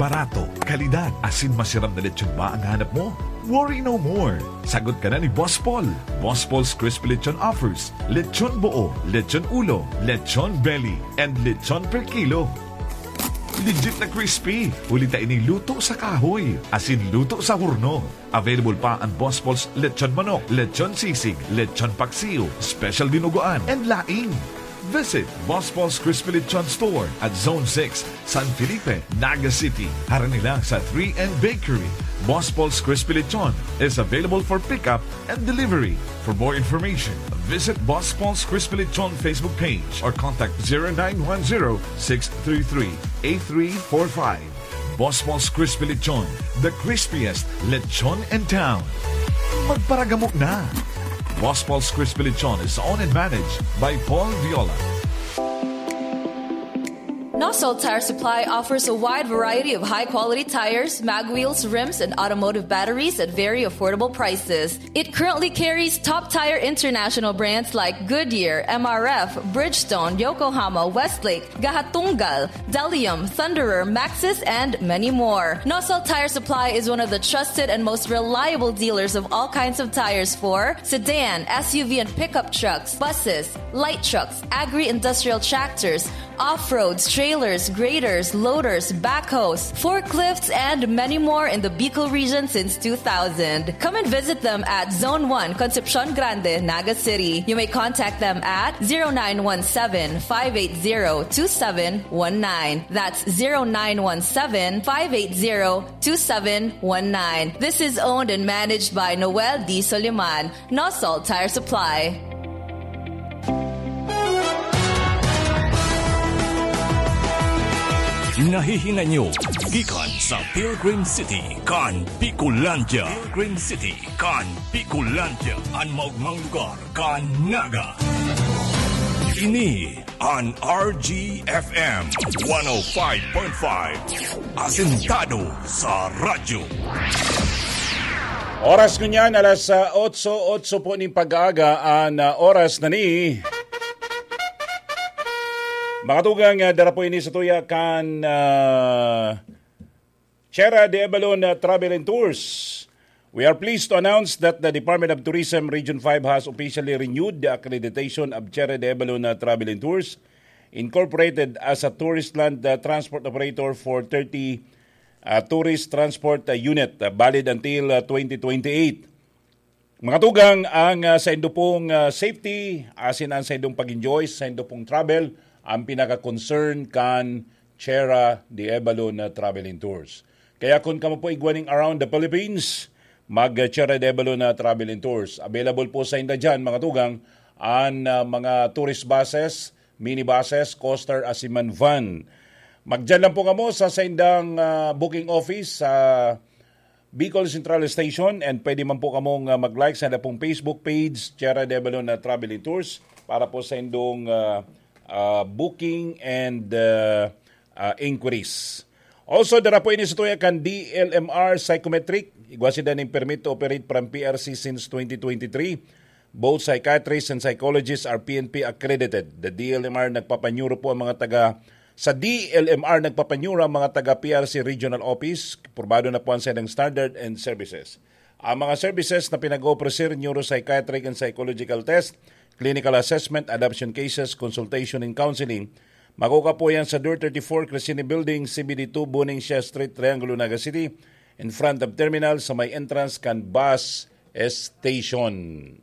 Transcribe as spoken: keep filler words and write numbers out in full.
Barato, kalidad, asin masiram na lechon ba ang hanap mo? Worry no more! Sagot ka na ni Boss Paul. Boss Paul's Crispy Lechon offers lechon buo, lechon ulo, lechon belly, and lechon per kilo. Legit na crispy, huli ta ini luto sa kahoy, asin luto sa horno. Available pa ang Boss Paul's lechon manok, lechon sisig, lechon paksiw, special dinuguan, and laing. Visit Boss Paul's Crispy Lechon Store at Zone six, San Felipe, Naga City. Harani lang sa three N Bakery. Boss Paul's Crispy Lechon is available for pickup and delivery. For more information, visit Boss Paul's Crispy Lechon Facebook page or contact zero nine one zero, six three three, eight three four five. Boss Paul's Crispy Lechon, the crispiest lechon in town. Magparagamo na! Boss Paul's Crispy Lechon is owned and managed by Paul Viola. Nosol Tire Supply offers a wide variety of high-quality tires, mag wheels, rims, and automotive batteries at very affordable prices. It currently carries top tire international brands like Goodyear, M R F, Bridgestone, Yokohama, Westlake, Gahatunggal, Delium, Thunderer, Maxxis, and many more. Nosol Tire Supply is one of the trusted and most reliable dealers of all kinds of tires for sedan, S U V, and pickup trucks, buses, light trucks, agri-industrial tractors, off-roads, trailers, graders, loaders, backhoes, forklifts, and many more in the Bicol region since two thousand. Come and visit them at Zone one, Concepcion Grande, Naga City. You may contact them at zero nine one seven, five eight zero, two seven one nine. That's zero nine one seven, five eight zero, two seven one nine. This is owned and managed by Noel D. Soliman, Nosol Tire Supply. Nahihinay nyo gikan sa Pilgrim City kan Bicolandia. Pilgrim City kan Bicolandia, an maogmang lugar kan Naga. Ini an R G F M one oh five point five, asentado sa radyo. Oras ngunyan, alas, ah, otso, otso po nin pag-aaga, an, ah, oras na ni. Mga tugang, ah, dara po ini sa tuya kan, ah, Chera de Avalon, ah, Travel and Tours. We are pleased to announce that the Department of Tourism Region five has officially renewed the accreditation of Chera de Avalon, ah, Travel and Tours Incorporated as a tourist land, ah, transport operator for thirty, ah, tourist transport, ah, unit, ah, valid until, ah, twenty twenty-eight. Mga tugang, ang, ah, saindo pong, ah, safety, asin ang saindong pag-enjoy, saindo pong travel, ang pinaka-concern kan Chera de Avalon na Travel and Tours. Kaya kung kamo po igwa nin around the Philippines, mag, ah, Chera de Avalon na Travel and Tours. Available po sa inda dyan, mga tugang, ang, ah, mga tourist buses, minibuses, coaster, asin man van. Magdyan lang po kamo sa saindang, ah, booking office sa Bicol Central Station, and pwede man po kamong, ah, mag-like sa saindang pong Facebook page, Chera de Avalon na Travel and Tours, para po sa indong, ah, ah, booking and, ah, ah, inquiries. Also, dara po ini sa tuya kan D L M R Psychometric. Igwa sinda nin permit to operate from P R C since twenty twenty-three. Both psychiatrists and psychologists are P N P accredited. The D L M R nagpapanyuro po ang mga taga, sa D L M R nagpapanyuro ang mga taga P R C Regional Office. Pormado na po ang saindang standard and services. Ang mga services na pinag-oofrecer, neuropsychiatric and psychological test, clinical assessment, adoption cases, consultation and counseling, makukuha po yan sa Door thirty-four, Crescini Building, C B D two, Bonifacio Street, Triangulo, Naga City, in front of terminal sa may entrance kan bus station.